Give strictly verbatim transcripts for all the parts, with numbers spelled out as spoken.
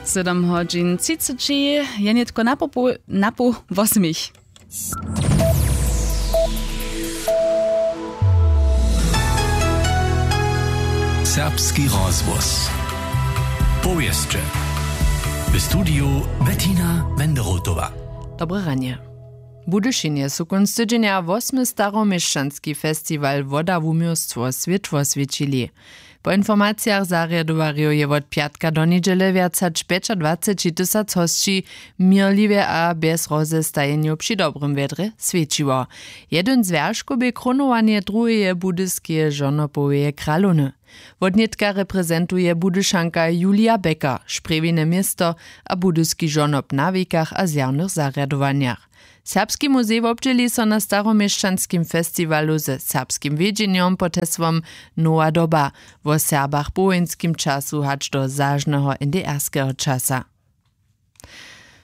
Sydom hodźin třiceći je nětko na poł, na poł wosmich. Serbski rozhłos. Powěsće. W studiju Bettina Wenderotowa. Dobre ranje. W Budyšinje su kónc tydźenja wosmy staroměšćanski festiwal Woda wuměłstwo swětło swěćili. Po informacijach zarjadowarjow je wot pjatka do njedźele wjac hač pjećadwaceći tysac hosći měrliwje a bjez rozestajenjow při dobrym wjedrje swjećiło. Jedyn z wjerškow bě krónowanje druheje budyskeje žonopoweje kralowny. Wotnětka reprezentuje Budyšanka Julia Becker, Sprjewine město a budyski žonop na wikach a zjawnych zarjadowanjach. Serbski muzej wobdźěli so na staroměšćanskim festiwalu ze serbskim wjedźenjom pod hesłom Nowa doba, wo Serbach w powojinskim času hač do zažneho N D R skeho časa.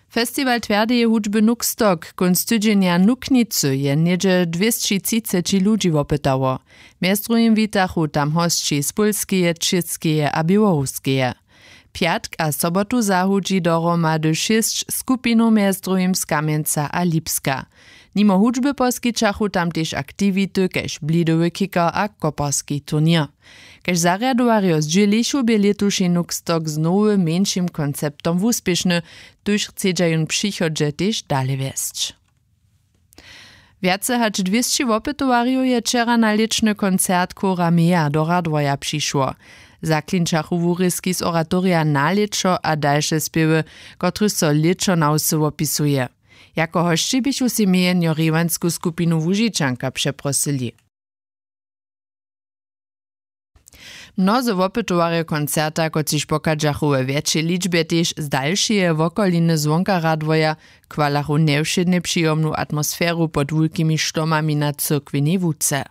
Festiwal twjerdeje hudźby Nuxtok kónc tydźenja Nuknicy je něhdźe dwěsći třiceći ludźi wopytało. Mjez druhim witachu tam hosći z Pólskeje, Čěskeje a Běłoruskeje. Pjatk a sobotu zahudźi dohromady šěsć skupinow, mjez druhim z Kamjenca a Lipska. Nimo hudźby poskićachu tam tež aktiwity kaž blidowy kicker a koparski turněr. Kaž zarjadowarjo zdźělichu, bě lětuši Nuxtok z nowym mjeńšim konceptom wuspěšny, tuž chcedźa jón w přichodźe tež dale wjesć. Wjace hač dwěsći wopytowarjow je wčera na lěćny koncert chóra Mea do Radworja přišło. Zaklinčachu wurězki z oratorija Na lěćo a dalše spěwy, kotryž so lěćo na wsy wopisuje. Jako hosći běchu sej mjejenjo rěwansku skupinu Łužičanka přeprosyli. Mnozy wopytowarjo koncerta, kotřiž pochadźachu we wjetšej ličbje tež z dalšeje wokoliny zwonka Radworja, chwalachu njewšědnje přijomnu atmosferu pod wulkimi štomami na cyrkwjenej łuce.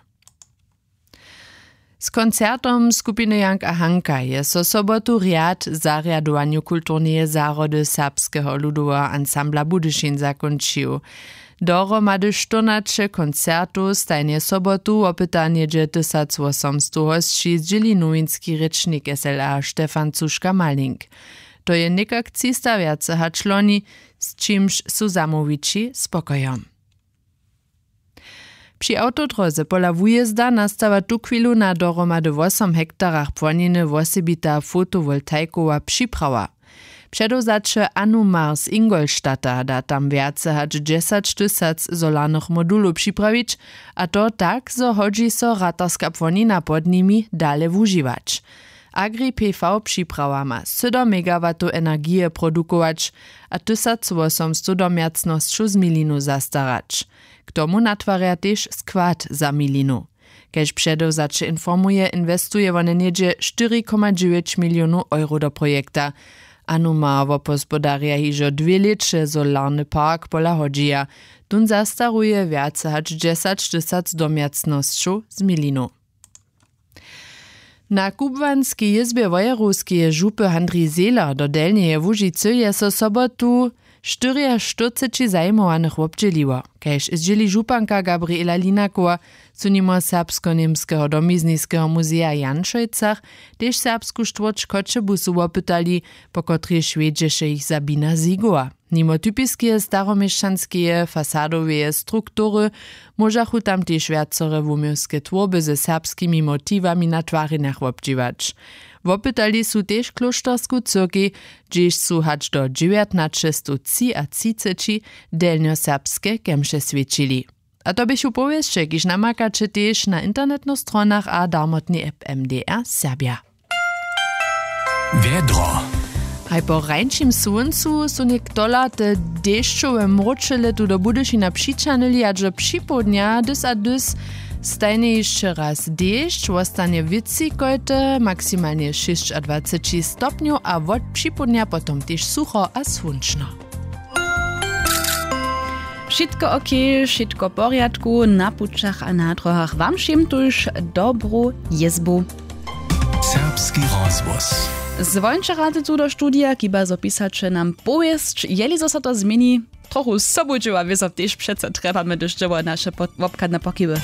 Z koncertom skupiny Jank a Hanka je so sobotu rjad w zarjadowanju kulturneje zahrody Serbskeho ludoweho ansambla Budyšin zakónčił. Dohromady štyrnaće koncertow stajnje sobotu wopyta něhdźe tysacwosomstow hosći, zdźěli nowinski rěčnik S L A Stefan Cuška-Malling. To je někak třista wjace hač loni, z čimž su zamołwići spokojom. Při awtodróze pola wujězda nastawa tuchwilu na dohromady wosom hektarach płoniny wosebita fotowoltajkowa připrawa. Předewzaće Anumar z Ingolstadta da tam wjace hač dźesać tysac solarnych modulow připrawić, a to tak, zo hodźi so ratarska płonina pod nimi dale wužiwać. Agri P V připrawa ma sydom megawatow energije produkować a tysacwosomstow domjacnosćow z milinu zastarać. K tomu natwarja tež skład za milinu. Kaž předewzaće informuje, inwestuje wone něhdźe štyri koma dźewjeć milionow euro do projekta. Anuma wobhospodarja hižo dwě lěće solarny park pola hodźija. Tón zastaruje wjace hač dźesać tysac domjacnosćow z milinu. Na kubłanskej jězbje wojerowskeje župy Handrij Zehler do Delnjeje Łužicy je so sobotu štyriaštyrceći zajimowanych wobdźěliło. Kaž zdźěli županka Gabriela Linakowa, su nimo Serbsko-němskeho domizniskeho muzeja w Janšojcach tež serbsku štwórć Choćebuzu wopytali, po kotrejž wjedźeše jich zabina Zigowa. Nimo typiskeje staroměšćanskeje fasadoweje struktury móžachu tam tež wjacore wuměłske twórby ze serbskimi motiwami na twarjenjach wobdźěłać. Wopytali su tež klóštersku cyrkej, hdźež su hač do dźewjatnaćestowtřiatřiceći delnjoserbske kemše swjećili. A to běchu powěsće, kiž namakaće tež na internetnych stronach a darmotnej app M D R Serbja. Wjedro. Haj, po rańšim słóncu su něktola te dešćowe mróčele tu do Budyšina přićahnyli, a dźo připołdnja dys a dys stajnje hišće raz dešć, wostanje wětřikojte, maksimalnje šěsćadwaceći stopnjow a wot připołdnja potom tež sucho a słónčno. Wšitko ok, wšitko w porjadku na pućach a na dróhach. Wam wšěm tuž dobru jězbu. Serbski rozhłos. Zwóńće rady tu do studija, kiba zo pisaće nam powěsć, jeli zo so to změni. Trochu sobudźěła wězo tež přeco trjebamy, hdyž dźěło naše pod-, wobchadne pokiwy.